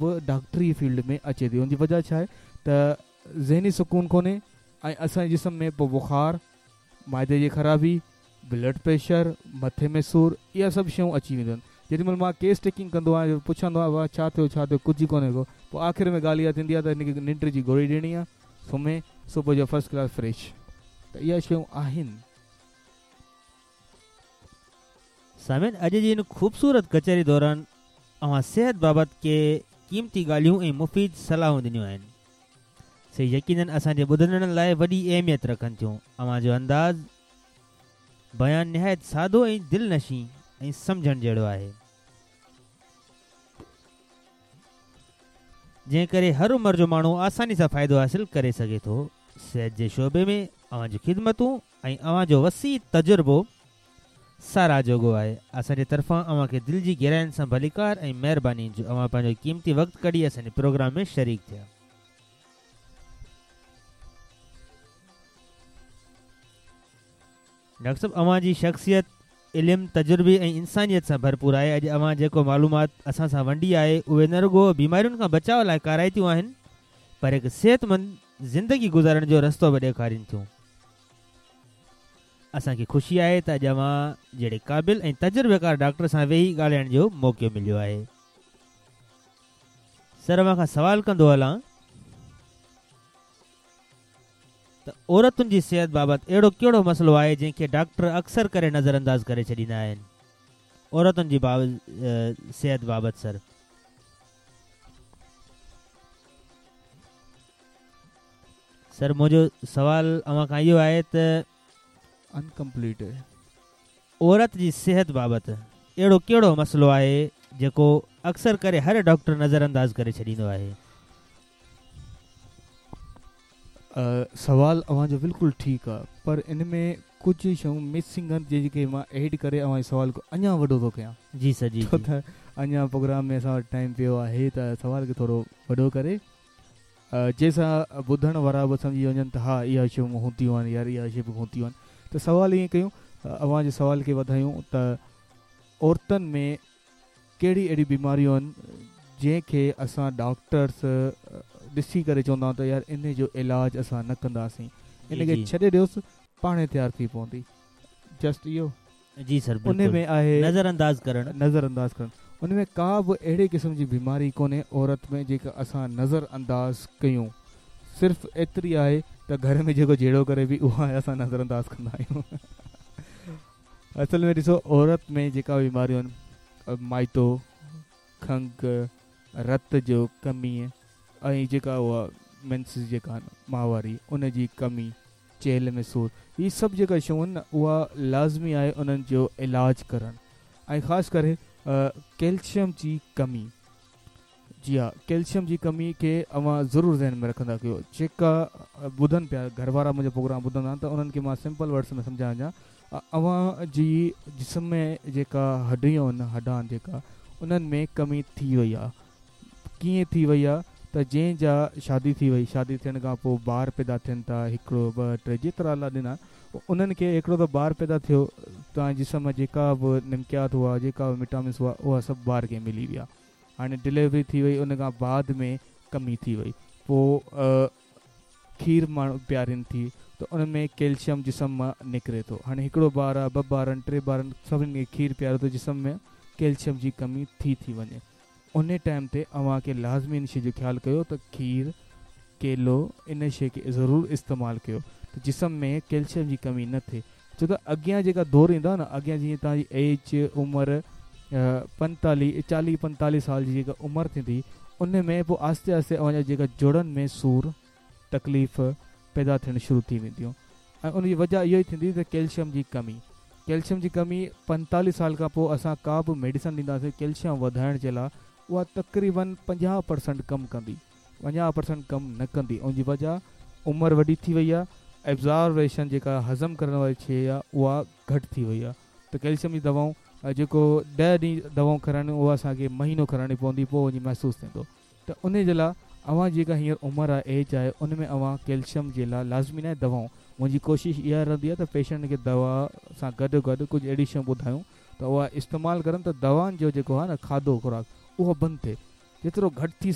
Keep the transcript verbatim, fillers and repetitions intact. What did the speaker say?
به ڊاڪٽري فيلڊ ۾ اچي ٿي. ان جي وجهه ڇا آهي ته ذهني سڪون ڪونهي ۽ اسان جي جسم ۾ پوءِ بخار، معدي جي خرابي، بلڊ پريشر، مٿي ۾ سور، اها سڀ شيون اچي وينديون آهن. جيڏي مهل مان ڪيس ٽيڪنگ ڪندو آهيان پڇندو آهيان بابا ڇا ٿيو ڇا ٿيو ڪجهه ڪونهي ڪو، پوءِ آخر ۾ ڳالهه اها ٿيندي آهي ته هن کي ننڊ جي گوري ڏيڻي آهي، سمهي صبح جو فرسٽ ڪلاس فريش. ته اها شيون آهن. سامعين، اڄ جي هن خوبصورت ڪچهري دوران اوهان صحت بابت ڪي قيمتي ڳالهيون ۽ مفيد صلاحون ڏنيون آهن، سي يقينن اسان جي ٻڌندڙن لاءِ وڏي اهميت رکن ٿيون. اوهان جو انداز بيان نهايت سادو ۽ دل نشين ۽ سمجهڻ جهڙو آهي، جنهن ڪري هر عمر جو ماڻهو آساني سان فائدو حاصل ڪري سگهي ٿو. صحت جي شعبي ۾ اوهان جون خدمتون ۽ اوهان جو وسيع تجربو ساراهه جوڳو آهي. اسان جي طرفان اوهان کي دل جي گهراين سان ڀليڪار ۽ مهرباني جو اوهان پنهنجو قيمتي وقت ڪڍي اسان جي پروگرام ۾ شريڪ ٿيا. ڊاڪٽر صاحب، اوهان جي شخصيت علم، تجربي ۽ انسانيت سان ڀرپور آهي. اڄ اوهان جيڪو معلومات اسان سان ونڊي آهي اهي نه رڳو بيمارين کان بچاءُ لاءِ ڪارائتيون آهن پر هڪ صحتمند زندگي گذارڻ جو رستو به ڏيکارين ٿيون. اسان کي خوشي آهي ته اڄ اوهان جهڙي قابل ۽ تجربيڪار ڊاڪٽر سان ويهي ڳالهائڻ جو موقعو مليو آهي. سر، اوهان کان سوال ڪندو هلان ته عورتن جي صحت بابت اهڙو ڪهڙو مسئلو آهي جنهن کي ڊاڪٽر اڪثر ڪري نظر انداز ڪري ڇڏيندا آهن؟ عورتن جي صحت بابت سر. سر، منهنجو سوال اوهان کان اهو آهي ته انڪمپليٽ عورت جي صحت بابت اهڙو ڪهڙو مسئلو آهي جيڪو اڪثر ڪري هر ڊاڪٽر نظر انداز ڪري ڇڏيندو آهي؟ سوال اوهان جو بلڪل ٺيڪ آهي، پر ان ۾ ڪجهه شيون مسنگ آهن جنهن کي مان ايڊ ڪري اوهان جي سوال کي اڃا وڏو ٿو ڪيان. جي سر، جي ڇو ته اڃا پروگرام ۾ اسان وٽ ٽائيم پيو آهي ته سوال کي ٿورو وڏو ڪري جنهن سان ٻڌڻ وارا به سمجهي وڃن ته ها اها شيون هونديون آهن يار اها شيءِ به هونديون آهن. ته سوال ائين ڪيون، اوهان جي سوال کي وڌايون ته عورتن ۾ ڪهڙي اهڙي بيماريون آهن جنهن کي اسان ڊاڪٽرس ڏسي ڪري چوندا آهيون ته يار ان جو علاج اسان نه ڪنداسين، ان کي ڇڏي ڏيوس پاڻ تيار ٿي پوندي. جسٽ اهو. جي سر، ان ۾ آهي نظر انداز ڪرڻ. نظر انداز ڪرڻ ان ۾ ڪا به اهڙي قسم جي بيماري ڪونهي عورت ۾ جيڪا اسان نظر انداز ڪيون. صرف ايتري آهي ته گهر ۾ جيڪو جهيڙو ڪري به اها اسان نظر انداز ڪندا آهيون. اصل ۾ ڏسو عورت ۾ جيڪا بيماريون آهن، مائتو، کنگهه، رت جو ڪمي ۽ جيڪا اها مينسز جيڪا آهن ماهواري ان جي ڪمي، چيلهه ۾ سور، هي سڀ جيڪا شيون آهن نه اها لازمي آهي انهن جو علاج ڪرڻ. ۽ خاص ڪري ڪيلشيم جي ڪمي. جي ها، ڪيلشيم جي ڪمي کي اوهان ضرور ذهن ۾ رکندا ڪيو. جيڪا ٻڌن پيا گهر وارا منهنجو پروگرام ٻڌندا آهن ته انهن کي مان سمپل ورڊس ۾ سمجهايان وڃان. اوهان جي جسم ۾ جيڪا هڏيون آهن، هڏا آهن جيڪا، انهن ۾ ڪمي ٿي وئي آهي. ڪيئن ٿي وئي آهي ته جنهن جا شادي ٿي وئي، شادي ٿيڻ کان پوءِ ٻار پيدا ٿين ٿا، هڪڙو ٻه ٽي جيترا الله ڏنا انهن کي، هڪڙو ته ٻار پيدا ٿيو، توهان جي جسم ۾ جيڪا به نمڪيات هئا، جيڪا به وٽامنس هئا، اها سڀ ٻار کي ملي ويا. هاڻي ڊليوري ٿي وئي، ان کان بعد ۾ ڪمي ٿي وئي، پوءِ کير ماڻهو پيارين ٿي ته ان ۾ ڪيلشيم جسم مان نڪري ٿو. هاڻي هڪڙو ٻار آهي، ٻه ٻار آهن، ٽي ٻار آهن، سڀني کي کير پياريو ته جسم ۾ ڪيلشيم جي ڪمي ٿي ٿي وڃي. ان ٽائيم تي اوهان کي لازمي ان شيءِ جو خيال ڪيو ته کير، ڪيلو، ان شيءِ کي ضرور استعمال ڪيو ته جسم ۾ ڪيلشيم جي ڪمي نه ٿئي. ڇو ته اڳيان جيڪا دور ايندو آهي نه، اڳيان جيئن توهان جي ايج عمر پنتاليهه چاليهه پنتاليهه سال جي جيڪا عمر ٿيندي ان ۾ پوءِ آهستي آهستي اوهان جا جيڪا جوڙن ۾ سور تڪليف پيدا ٿيڻ شروع ٿي وينديون. ۽ ان جي وجهه اها ئي ٿيندي ته ڪيلشيم جي ڪمي. ڪيلشيم جي ڪمي پنتاليهه سال کان پوءِ اسان ڪا به ميڊيسن ڏينداسين ڪيلشيم وڌائڻ جي لاءِ، اها تقريبن پنجاهه پرسنٽ ڪم ڪندي، پنجاهه پرسنٽ ڪم نه ڪندي. ان جي وجهه عمر وڏي ٿي وئي آهي، ايبزاربيشن جيڪا هضم ڪرڻ واري شيءِ آهي اها گهٽ ٿي وئي آهي. ته ڪيلشيم جي دوائون جيڪو ڏهه ڏينهن دوائون کارائڻيون اها اسان کي مهينو کارائڻي پوندي، پوءِ وڃي محسوس ٿيندو. ته ان جي لاءِ اوهان جيڪا هينئر عمر آهي، ايج آهي، ان ۾ اوهان ڪيلشيم جي لاءِ لازمي نه آهي دوائون. منهنجي ڪوشش اها رهندي آهي ته پيشنٽ کي دوا سان گڏ گڏ ڪجهه اهڙي شيون ٻڌايون ته اها استعمال ڪرن ته دوائن جو جيڪو آهي نه کاڌو خوراڪ اهو بند ٿئي. جيترو گهٽ ٿي